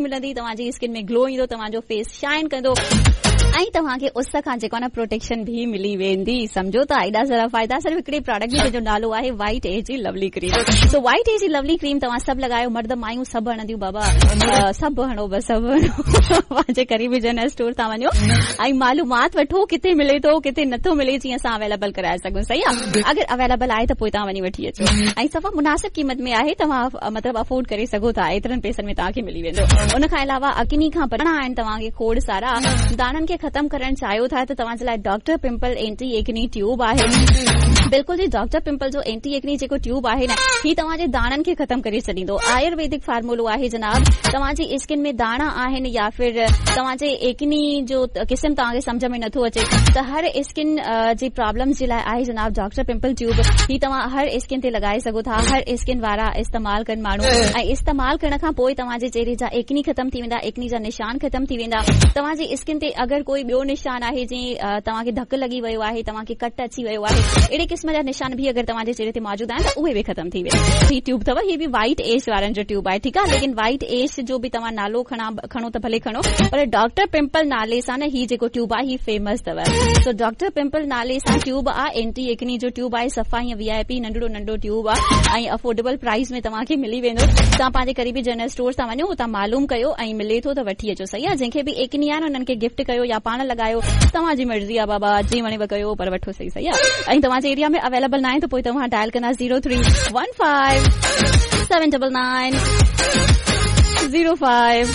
ملندي توهان جي اسڪن ۾ گلو ايندو توهان جو فيس شائن ڪندو ۽ توهان کي اس کان جيڪو آهي نه پروٽيڪشن به ملي ويندي سمجهو ٿا ايڏا سارا فائدا صرف هڪڙي پراڊڪٽ جي جنهن جو نالو آهي وائٽ ايج جي لولي ڪريم سو وائٽ ايج جي لولي ڪريم توهان سڀ لڳايو مرد مايون سڀ هڻنديون بابا سڀ هڻو بس سڀ هڻو پنهنجي قريبي جنرل اسٽور تان وڃو ۽ معلومات وٺو ڪٿي ملي ٿو ڪٿي نٿو ملي جيئن اسان اويليبل ڪرائي سگهون صحيح آهي اگر اويليبل آهي ته پوء توهان وڃي وٺي اچو ۽ صفا مناسب قيمت ۾ آهي توهان مطلب افورڊ ڪري سگهو ٿا ايترن پئسن ۾ توهان کي ملي ويندو ان کان علاوه اڪني کان بچڻا آهن توهان کي کوڙ سارا داڻن کي ختم ڪرڻ چاهيو ٿا ته توهان جي لاء doctor pimple anti acne tube آهي بلڪل جي ڊاڪٽر پمپل جو اينٽي ايڪني جيڪو ٽيوب آهي نه هي توهان جي داڻن کي ختم ڪري ڇڏيندو آيورويدڪ فارمولو آهي جناب توهان جي اسڪن ۾ داڻا آهن يا ڦر توهان جي ايڪني جو قسم توهان کي سمجهه ۾ نٿو اچي ته هر اسڪن جي پرابلمز جي لاء آهي جناب ڊاڪٽر پمپل ٽيوب هي توهان هر اسڪن تي لڳائي سگهو ٿا هر اسڪن وارا استعمال ڪن ماڻهو ۽ استعمال ڪرڻ کان پوء توهان جي چهري جا ايڪني ختم ٿي ويندا ايڪني جا نشان ختم ٿي ويندا توهان جي اسڪن تي اگر ڪوئي ٻيو نشان آهي جيئن توهان کي ڌڪ لڳي ويو آهي توهان کي ڪٽ اچي ويو آهي اهڙي قسم جا نشان به اگر توهان جي چهري تي موجود آهن ته اهي به ختم ٿي ويندا هي ٽيوب اٿو هي به وائيٽ ايش وارن جو ٽيوب آهي ٺيڪ آهي ليڪن وائيٽ ايش جو به توهان نالو کڻا کڻو ته ڀلي کڻو پر ڊاڪٽر پمپل نالي سان نه هي جيڪو ٽيوب آهي هي فيمس اٿو سو ڊاڪٽر پمپل نالي سان ٽيوب آ اينٽي ايڪني جو ٽيوب آهي صفا ائين وي آء پي ننڍڙو ننڍو ٽيوب آ ۽ افورڊيبل پرائس ۾ توهان کي ملي ويندو توهان پنهنجي قريبي جنرل اسٽور تان وڃو اتان معلوم ڪيو ۽ ملي ٿو ته وٺي اچو صحيح آ جنهن کي به ايڪني آهي نه انهن کي گفٽ ڪيو يا پاڻ لڳايو توهان جي مرضي آ بابا جيئن وڻيو ڪيو پر وٺو صحيح صحيح آ ۽ توهان جي ايريا ۾ اويليبل ناهي ته پوء توهان ڊائل ڪندا zero three one five seven double nine zero five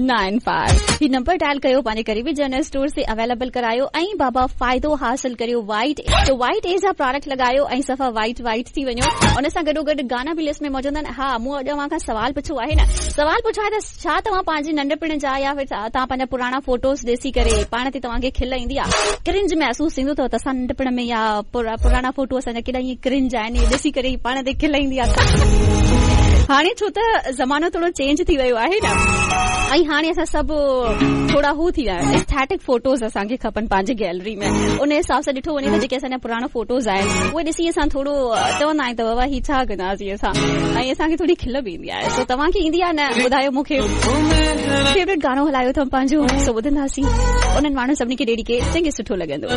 nine five هي نمبر ڊائل ڪيو پنهنجي قريبي جنرل اسٽور تي اويليبل ڪرايو ۽ بابا فائدو حاصل ڪريو وائيٽ تو وائيٽ ايج جا پراڊڪٽ لڳايو ۽ صفا وائيٽ وائيٽ ٿي وڃو ان سان گڏو گڏ گانا به لسٽ ۾ موجود آهن ها مون اڄ اوهان کان سوال پڇيو آهي نه سوال پڇيو آهي ته ڇا توهان پنهنجي ننڍپڻ جا يا ڦر توهان پنهنجا پراڻا فوٽوز ڏسي ڪري پاڻ تي توهان کي کل ايندي آهي ڪرنج محسوس ٿيندو اٿو ته اسان ننڍپڻ ۾ يا پراڻا فوٽو اسان جا ڪيڏا ائين ڪرنج آهن اهي ڏسي ڪري پاڻ تي کل ايندي آهي هاڻي ڇو ته زمانو ٿورو چينج ٿي ويو آهي نه ۽ هاڻي اسان سڀ ٿورا هو ٿي ويا آهيون ايسٿيٽڪ فوٽوز اسان کي کپن پنهنجي گيلري ۾ ان حساب سان ڏٺو وڃي ته جيڪي اسان جا پراڻا فوٽوز آهن اهي ڏسي اسان ٿورو چوندا آهيون ته بابا هي ڇا ڪنداسين اسان ۽ اسان کي ٿوري کل به ايندي آهي سو توهان کي ايندي آهي نه ٻڌايو مون کي فيورٽ گانو هلايو اٿم پنهنجو سو ٻڌنداسين انهن ماڻهن سڀني کي ڊيڊيڪيٽ جنهن کي سٺو لڳندو.